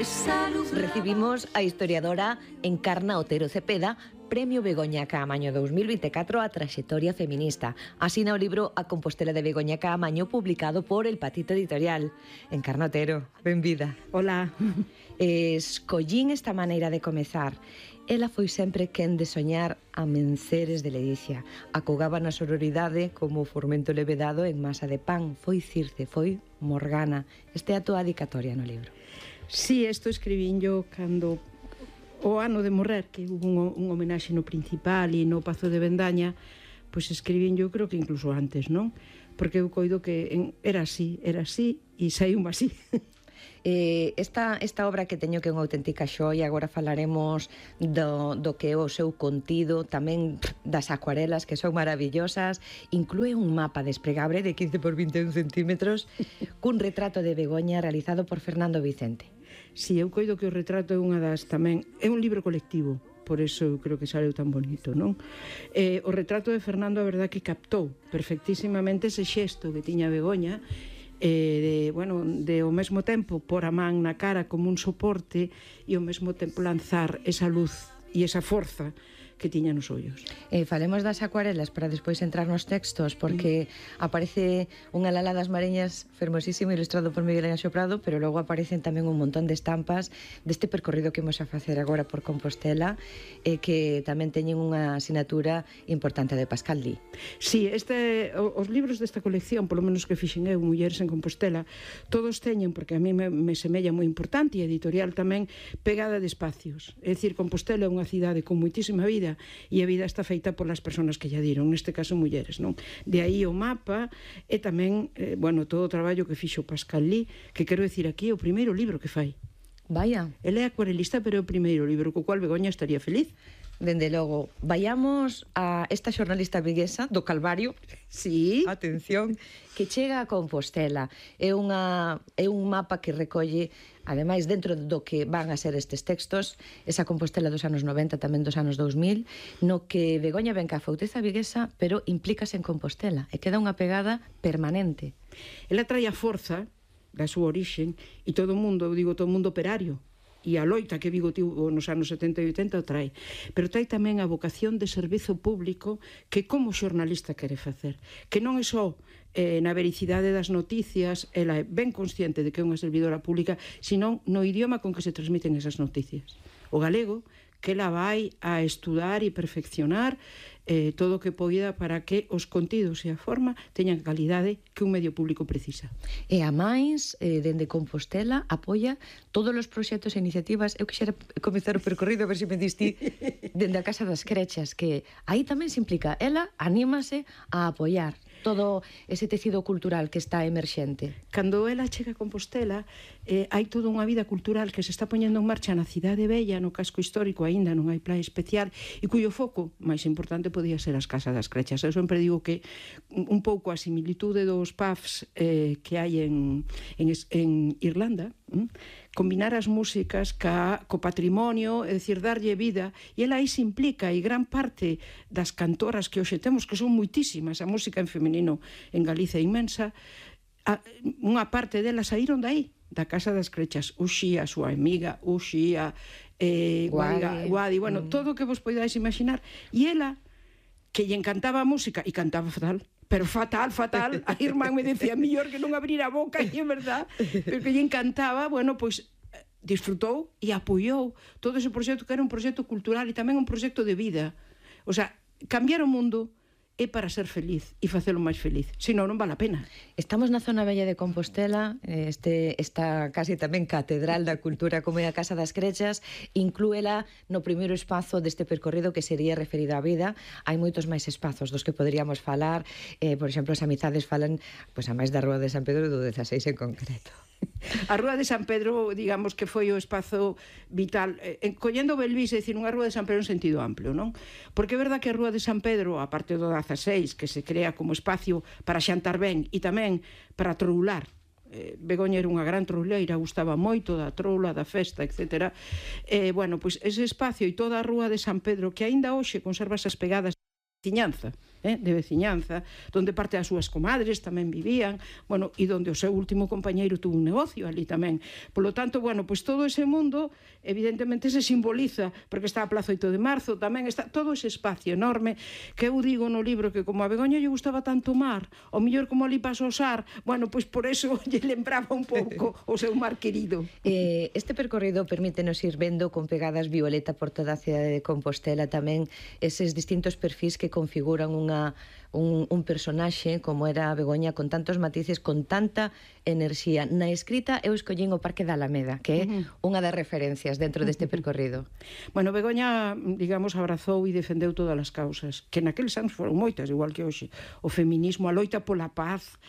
Recibimos a historiadora Encarna Otero Cepeda, Premio Begoña Caamaño 2024 a traxectoria feminista. Asina o libro A Compostela de Begoña Caamaño, publicado por El Patito Editorial. Encarna Otero, benvida. Hola. Escollín esta maneira de comezar. Ela foi sempre quen de soñar amenceres de ledicia. Acogaba na sororidade como Formento Levedado en masa de pan. Foi Circe, foi Morgana. Esta é a tua dedicatoria no libro. Sí, isto escribín yo cando o ano de morrer, que hubo un homenaxe no Principal e no Pazo de Bendaña, pois escribín yo creo que incluso antes, non? Porque eu coido que era así e saiu así. Esta obra que teño que é unha auténtica xoia, agora falaremos do que é o seu contido, tamén das acuarelas que son maravillosas, inclúe un mapa desplegable de 15 por 21 centímetros cun retrato de Begoña realizado por Fernando Vicente. Si, eu coido que o retrato é unha das tamén, é un libro colectivo, por eso eu creo que sale tan bonito, non? O retrato de Fernando, a verdad que captou perfectísimamente ese xesto que tiña Begoña, de ao mesmo tempo pôr a man na cara como un soporte e ao mesmo tempo lanzar esa luz e esa forza que tiña nos ollos. Falemos das acuarelas para despois entrar nos textos, porque aparece unha Lala das Mareñas fermosísimo, ilustrado por Miguel Anxo Prado, pero logo aparecen tamén un montón de estampas deste percorrido que imos a facer agora por Compostela, que tamén teñen unha asignatura importante de Pascal Lee. Sí, os libros desta colección, polo menos que fixen eu, Mulleres en Compostela, todos teñen, porque a mí me semella moi importante, e editorial tamén, pegada de espacios. É dicir, Compostela é unha cidade con moitísima vida, e a vida está feita polas persoas que lla diron, neste caso mulleres, non? De aí o mapa e tamén, todo o traballo que fixo Pascal Lee, que quero decir aquí, o primeiro libro que fai. Vaya. Ele é acuarelista, pero é o primeiro libro, co cual Begoña estaría feliz. Dende logo, vayamos a esta xornalista viguesa do Calvario. Sí. Atención, que chega a Compostela. É un mapa que recolle, ademais, dentro do que van a ser estes textos, esa Compostela dos anos 90, tamén dos anos 2000, no que Begoña ven ca fauteza viguesa, pero implícase en Compostela, e queda unha pegada permanente. Ela trae a forza da súa orixen, e todo o mundo, eu digo todo o mundo operario, e a loita que Vigo tivo nos anos 70 e 80 o trae, pero trae tamén a vocación de servizo público que como xornalista quere facer, que non é só na vericidade das noticias, ela é ben consciente de que é unha servidora pública, sino no idioma con que se transmiten esas noticias. O galego, que ela vai a estudar e perfeccionar todo o que poida para que os contidos e a forma teñan a calidade que un medio público precisa. E a máis, dende Compostela, apoia todos os proxectos e iniciativas. Eu quixera comezar o percorrido, a ver se me distí, dende a Casa das Crechas, que aí tamén se implica. Ela anímase a apoiar todo ese tecido cultural que está emerxente. Cando ela chega a Compostela, hai toda unha vida cultural que se está poñendo en marcha na cidade bella, no casco histórico, aínda non hai playa especial, e cuyo foco máis importante podía ser as Casas das Crechas. Eu sempre digo que un pouco a similitude dos pubs que hai en Irlanda, combinar as músicas co patrimonio, é dicir, darlle vida, e ela aí se implica, e gran parte das cantoras que hoxe temos, que son moitísimas, a música en feminino en Galicia é inmensa, unha parte delas saíron dai, da Casa das Crechas, Uxía, a súa amiga, Uxía, Guadi, todo o que vos poidades imaginar, e ela, que lle encantaba a música, e cantaba fatal, pero fatal, a irmán me decía, mellor que non abrir a boca, e é verdad, pero que lle encantaba, disfrutou e apoiou todo ese proxecto, que era un proxecto cultural e tamén un proxecto de vida. O sea, cambiar o mundo é para ser feliz e facelo máis feliz, senón non vale a pena. Estamos na zona bella de Compostela, esta casi tamén catedral da cultura como é a Casa das Crechas, inclúela no primeiro espazo deste percorrido que sería referido á vida. Hai moitos máis espazos dos que poderíamos falar, por exemplo, as amizades falan a máis da Rúa de San Pedro do 16 en concreto. A Rúa de San Pedro, digamos que foi o espazo vital, collendo Belvís, é dicir, unha Rúa de San Pedro en sentido amplio, non? Porque é verdad que a Rúa de San Pedro, a parte do 16, que se crea como espacio para xantar ben e tamén para troular, Begoña era unha gran trouleira, gustaba moito da troula, da festa, etc. Ese espacio e toda a Rúa de San Pedro, que aínda hoxe conserva esas pegadas de tiñanza, de veciñanza, donde parte das súas comadres tamén vivían, bueno, e donde o seu último compañeiro tuvo un negocio ali tamén. Polo tanto, bueno, pois todo ese mundo evidentemente se simboliza, porque está a Plaza 8 de Marzo, tamén está todo ese espacio enorme, que eu digo no libro que como a Begoña lle gustaba tanto o mar, o mellor como ali paso o Sar, bueno, pois por eso lle lembraba un pouco o seu mar querido. Este percorrido permítenos ir vendo con pegadas violeta por toda a cidade de Compostela tamén eses distintos perfis que configuran un personaxe como era a Begoña, con tantos matices, con tanta enerxía. Na escrita eu escollín o Parque da Alameda, que é unha das referencias dentro deste percorrido. Bueno, Begoña, digamos, abrazou e defendeu todas as causas, que naqueles anos foron moitas, igual que hoxe. O feminismo, a loita pola paz,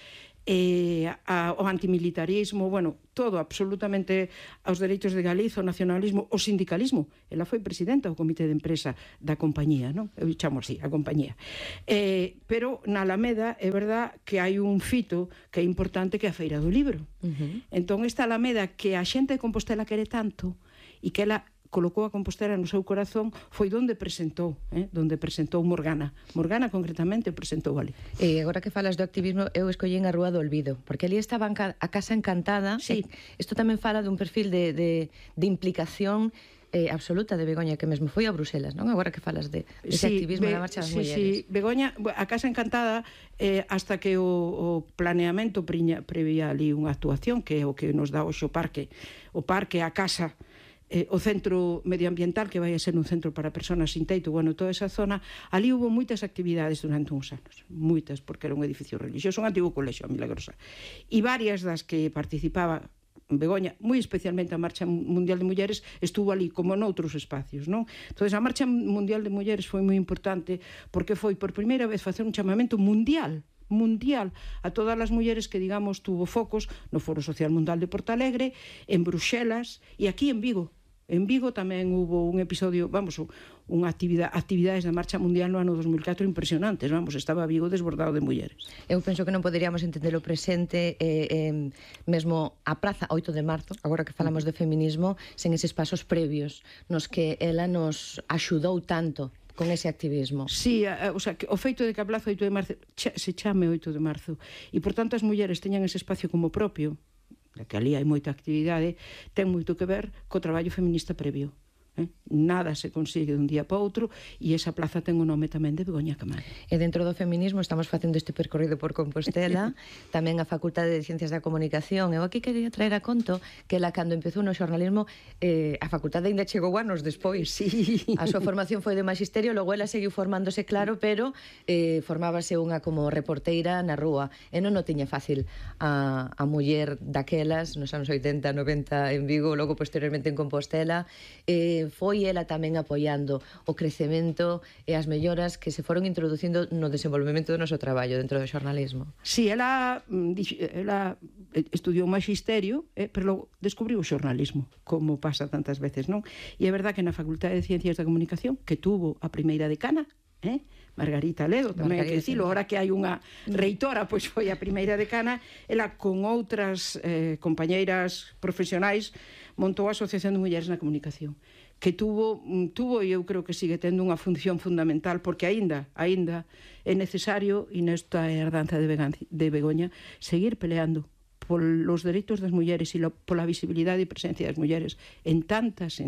o antimilitarismo, bueno, todo, absolutamente, aos dereitos de Galiza, o nacionalismo, o sindicalismo. Ela foi presidenta do comité de empresa da compañía, non? Eu chamo así, a compañía. Pero na Alameda é verdad que hai un fito que é importante, que é a Feira do Libro. Entón, esta Alameda que a xente de Compostela quere tanto e que ela colocou a Compostela no seu corazón, foi donde presentou Morgana. Morgana, concretamente, presentou ali. E agora que falas do activismo, eu escollín a Rúa do Olvido, porque ali estaba a Casa Encantada. Sí. Isto tamén fala dun perfil de implicación absoluta de Begoña, que mesmo foi a Bruselas, non? Agora que falas dese activismo da Marcha das Mulleres. Sí, Begoña, a Casa Encantada, hasta que o planeamento prevía ali unha actuación, que é o que nos dá hoxe o parque, a casa, o centro medioambiental, que vai a ser un centro para persoas sin teito, bueno, toda esa zona, ali hubo moitas actividades durante uns anos, moitas, porque era un edificio religioso, un antigo colexio, a Milagrosa, e varias das que participaba Begoña, moi especialmente a Marcha Mundial de Mulleres, estuvo ali como noutros espacios, non? Entón, a Marcha Mundial de Mulleres foi moi importante, porque foi por primeira vez facer un chamamento mundial a todas as mulleres que, digamos, tuvo focos no Foro Social Mundial de Portalegre, en Bruxelas e aquí en Vigo. En Vigo tamén hubo un episodio, unha actividades da Marcha Mundial no ano 2004 impresionantes, estaba Vigo desbordado de mulleres. Eu penso que non poderíamos entender o presente, mesmo a Praza 8 de Marzo, agora que falamos de feminismo, sen eses pasos previos nos que ela nos axudou tanto con ese activismo. Sí, o sea, que o feito de que a Plaza 8 de Marzo se chame 8 de Marzo e, por tanto, as mulleres teñan ese espacio como propio, que ali hai moita actividade, ten moito que ver co traballo feminista previo. Nada se consigue dun día para outro e esa plaza ten o nome tamén de Begoña Caamaño. E dentro do feminismo estamos facendo este percorrido por Compostela, tamén a Facultade de Ciencias da Comunicación. Eu aquí quería traer a conto que ela, cando empezou no xornalismo, a facultade ainda chegou anos despois. Sí. A súa formación foi de magisterio, logo ela seguiu formándose, claro, pero formábase unha como reporteira na rúa. E non o tiña fácil a muller daquelas, nos anos 80, 90 en Vigo, logo posteriormente en Compostela. Foi ela tamén apoiando o crecemento e as melloras que se foron introducindo no desenvolvemento do noso traballo dentro do xornalismo. Sí, ela estudiou magisterio, pero logo descubriu o xornalismo, como pasa tantas veces, non? E é verdad que na Facultade de Ciencias da Comunicación, que tuvo a primeira decana, Margarita Ledo, tamén hai que dicilo, ahora que hai unha reitora, pois foi a primeira decana, ela con outras compañeiras profesionais montou a Asociación de Mulleres na Comunicación, que tuvo e eu creo que sigue tendo unha función fundamental, porque aínda é necesario, e nesta herdanza de Begoña, seguir peleando polos dereitos das mulleres e pola visibilidade e presencia das mulleres en tantos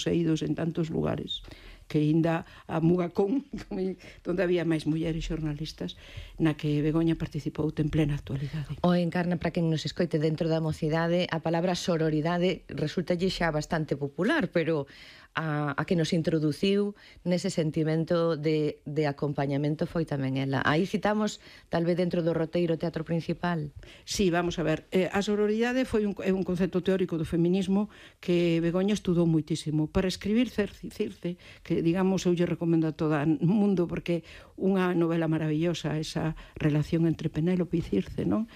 eidos, en tantos lugares, que aínda a Mugacón, onde había máis mulleres xornalistas, na que Begoña participou en plena actualidade. O encarna, para quen nos escoite dentro da mocidade, a palabra sororidade resulta xa bastante popular, pero a que nos introduciu nese sentimento de acompañamento foi tamén ela. Aí citamos, tal vez dentro do roteiro Teatro Principal. Sí, vamos a ver. A sororidade foi un concepto teórico do feminismo que Begoña estudou moitísimo. Para escribir Circe, que, digamos, eu lle recomendo a todo o mundo, porque unha novela maravillosa, esa relación entre Penélope e Circe, non?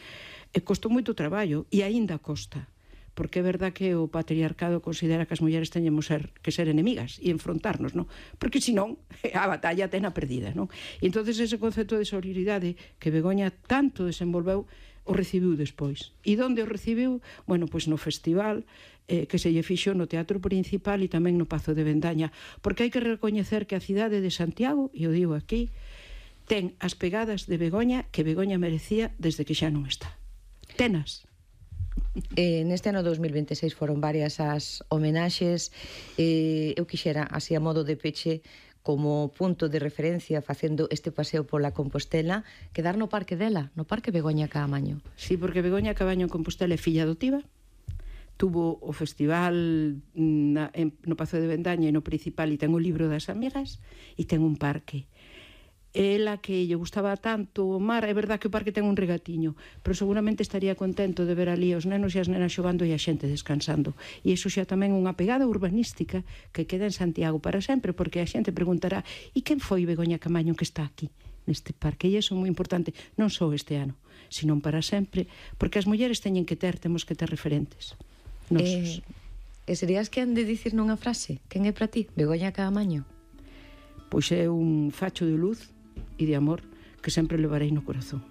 Costou moito traballo, e aínda costa, porque é verdad que o patriarcado considera que as mulleres teñemos que ser enemigas e enfrontarnos, non? Porque senón a batalla tena perdida, non? E entonces ese concepto de sororidade que Begoña tanto desenvolveu o recibiu despois. E onde o recibiu? Bueno, pois no festival que se lle fixo no Teatro Principal e tamén no Pazo de Vendaña, porque hai que recoñecer que a cidade de Santiago, e o digo aquí, ten as pegadas de Begoña que Begoña merecía desde que xa non está. Tenas. Neste ano 2026 foron varias as homenaxes. Eu quixera, así a modo de peche, como punto de referencia facendo este paseo pola Compostela, quedar no parque dela, no Parque Begoña Caamaño. Sí, porque Begoña Caamaño en Compostela é filla adotiva, tuvo o festival no Pazo de Bendaña e no Principal, e ten o libro das amigas, e ten un parque. Ela que lle gustaba tanto o mar, é verdad que o parque ten un regatiño, pero seguramente estaría contento de ver ali os nenos e as nenas xogando e a xente descansando. E iso xa tamén unha pegada urbanística que queda en Santiago para sempre, porque a xente preguntará: e quen foi Begoña Caamaño que está aquí, neste parque? E iso é moi importante, non só este ano, sino para sempre, porque as mulleres temos que ter referentes. Nosos. E serías que han de dicir nunha frase? Quen é para ti, Begoña Caamaño? Pois é un facho de luz e de amor que sempre levarei no corazón.